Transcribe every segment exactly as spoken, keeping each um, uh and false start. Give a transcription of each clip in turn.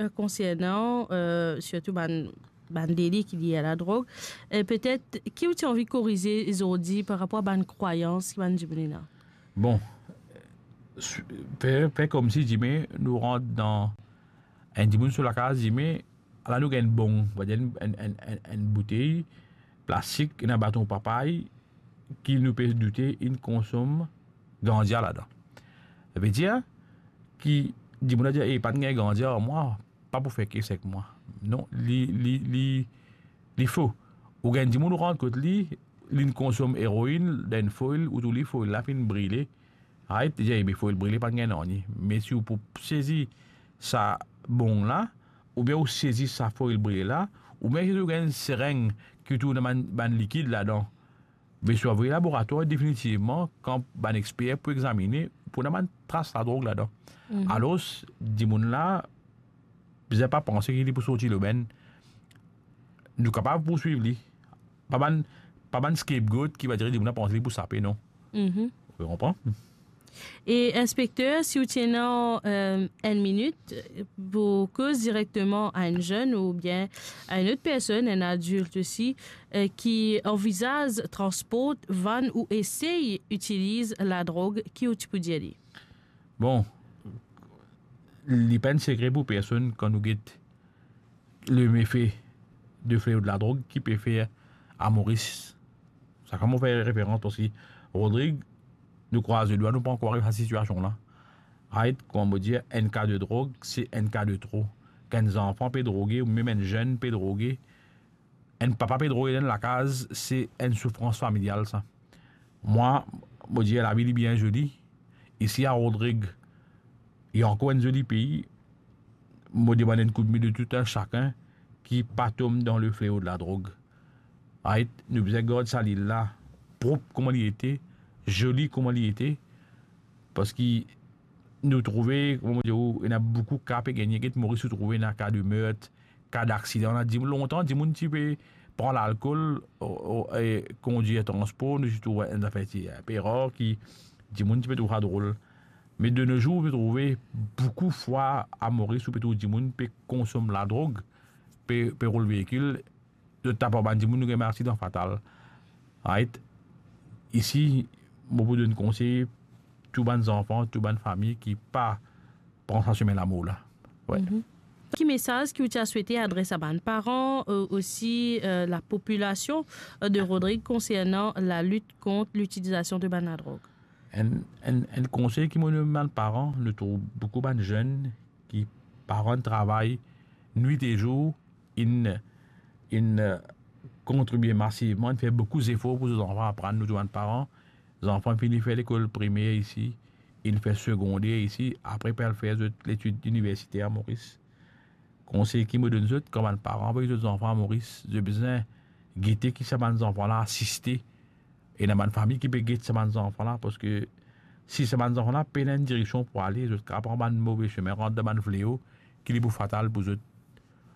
Euh, konsernan, euh, sirtou bann, bann deli ki lie a ladrog, e petet, ki ou ti anvi korize zordi par rapor a bann krwayans ki bann dimoun ena? Bon, su-, fer, fer koumsi dime nou rant dan enn dimoun so lakaz, dime, ala nou gagn bong, va dir enn, enn, enn, enn, enn boutey plastik, ena baton papay ki nou pe doute inn konsom gandia ladan. Savedir ki dimoun la dir, "E, pa gagn gandia ar mwa, pa pou fer kes ek mwa." Non, li, li, li, li fo. Ou gagn dimoun, ou rant kot li, linn konsom eroinn, dan enn foil, ou trouv li foil la finn brile. Right? Li dir, "E, me foil brile pa gagn nanye." Me si ou pou sezi sa bong la, oubien ou sezi sa foil brile la, oubien si ou gagn sereng ki trouv ena bann, bann likid ladan, be swa avoy laboratwar, definitivman, kan bann exper pou examine, pou ena bann tras ladrog ladan. Mhm. Alor, dimoun la, bizin pa panse ki li pou sorti lobenn. Nou kapav pourswiv li. Pa bann, pa bann scapegoat ki va dir dimoun la panse li pou sape, non. Mhm. Ou konpran? E inspekter, si ou ti ena, euh, enn minit, euh, pou koz direkteman a enn zenn oubien a enn lot personn, enn adilt osi, euh, ki anvizaz transport, vann ou esey itiliz ladrog, ki ou ti pou dir li? Bon, li pa enn sekre pou personn kan nou get lemefe de fleo de ladrog ki pe fer a Moris. Sa kan mo fer referans parski Rodrig, nou krwaz ledwa, nou pa ankor ariv sa sitiasion la. Right, kouma mo dir, enn ka de drog, se enn ka de tro. Kan enn zanfan pe droge, ou mem enn zenn pe droge, enn papa pe drog dan lakaz, se enn soufrans familial sa. Mwa, mo dir, lavi li bien zoli. Isi a Rodrig, li ankor enn zoli pei. Mo demann enn koudme de tou enn sakenn ki pa tom dan le fleo de ladrog. Right? Nou bizin gard sa lil la prop kouma li ete, zoli kouma li ete, parski nou trouve, kouma mo dir ou, ena boukou ka pe gagne, get Moris ou trouve ena ka de mert, ka daksidan. Ena dim-, lontan, dimoun ti pe pran lalkol, o, o, e kondir transpor, nou ti trouv enn zafer ti inpe rar ki dimoun ti pe trouv sa drol. Me de no zour, ou pe trouve boukou fwa a Moris, ou pe trouv dimoun pe konsom ladrog, pe, pe roul veikil, zot tap ar bann dimoun, nou gagn bann aksidan fatal. Right? Isi, mo pou donn konsey, tou bann zanfan, tou bann fami ki pa pran sa semin lamor la. Wi. Mhm. Ki mesaz ki ou ti a swete adres a bann paran, euh, osi, euh, lapopilasion, euh, de Rodrig konsernan lalit kont litilizasion de bann ladrog? Enn, enn, enn konsey ki mo donn bann paran, nou trouv boukou bann zenn ki pa rann travay nwit e zour, inn, inn, euh, kontribie masivman, inn fer boukou zefor pou zot zanfan aprann, nou tou bann paran. Zanfan fini fer lekol primer isi, inn fer segonder isi, apre pe al fer zot letid iniversiter a Moris. Konsey ki mo donn zot, kan bann paran avoy zot zanfan a Moris, zot bizin gete ki sa bann zanfan la asiste, ena bann fami ki pe get sa bann zanfan la, parski si sa bann zanfan la pena enn direksion pou ale, zot kapav pran bann move semin, rant dan bann fleo ki li pou fatal pou zot.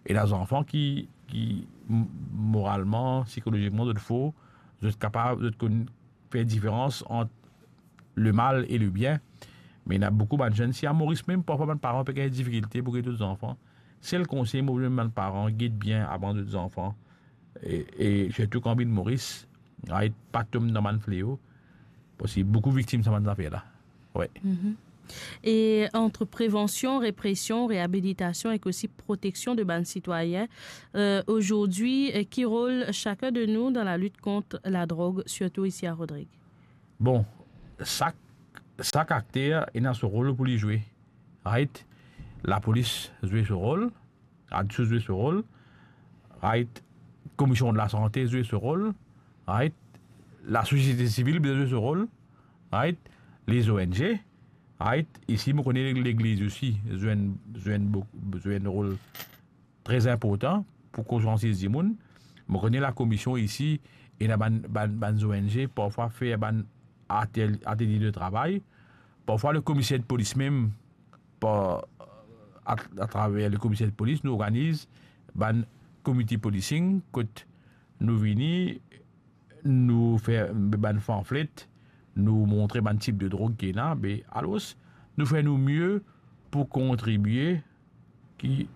Ena zanfan ki, ki m-, moralman, sikolozikman, zot for, zot kapav, zot konn fer diferans ant lemal e lebien. Me ena boukou bann zenn, si a Moris mem, parfwa bann paran pe gagn difikilte pou get zot zanfan. Sel konsey mo pou donn bann paran, get bien avan zot zanfan. E, e sirtou kan vinn Moris, right, pa tom dan bann fleo, parski boukou viktim sa bann zafer la. Wi. Mhm. E ant prevansion, represion, reabilitasion ek osi proteksion de bann sitwayin, euh, azordi, euh, ki rol sakenn de nou dan lalit kont ladrog, sirtou isi a Rodrig? Bon, sak, sak akter ena so rol pou li zwe. Right? Lapolis zwe so rol, ADSOO zwe so rol, right? Komisyon de lasante zwe so rol, right? Lasosiete sivil bizin zwe so rol, right? Les O N G, right? Isi, mo kone legliz osi zwe enn, zwe enn bo-, zwe enn rol tre inportan pou konsiansiz dimoun. Mo kone lakomision isi, ena bann, bann, bann O N G, parfwa fer bann atel-, atelie de travay. Parfwa, le komiser de polis mem, par, a, atraver le komiser de polis, nou organiz bann community policing, kot nou vini, nou fer bann pamflet, nou montre bann tip de drog ki ena, be, alor, nou fer nou mie pou kontribie ki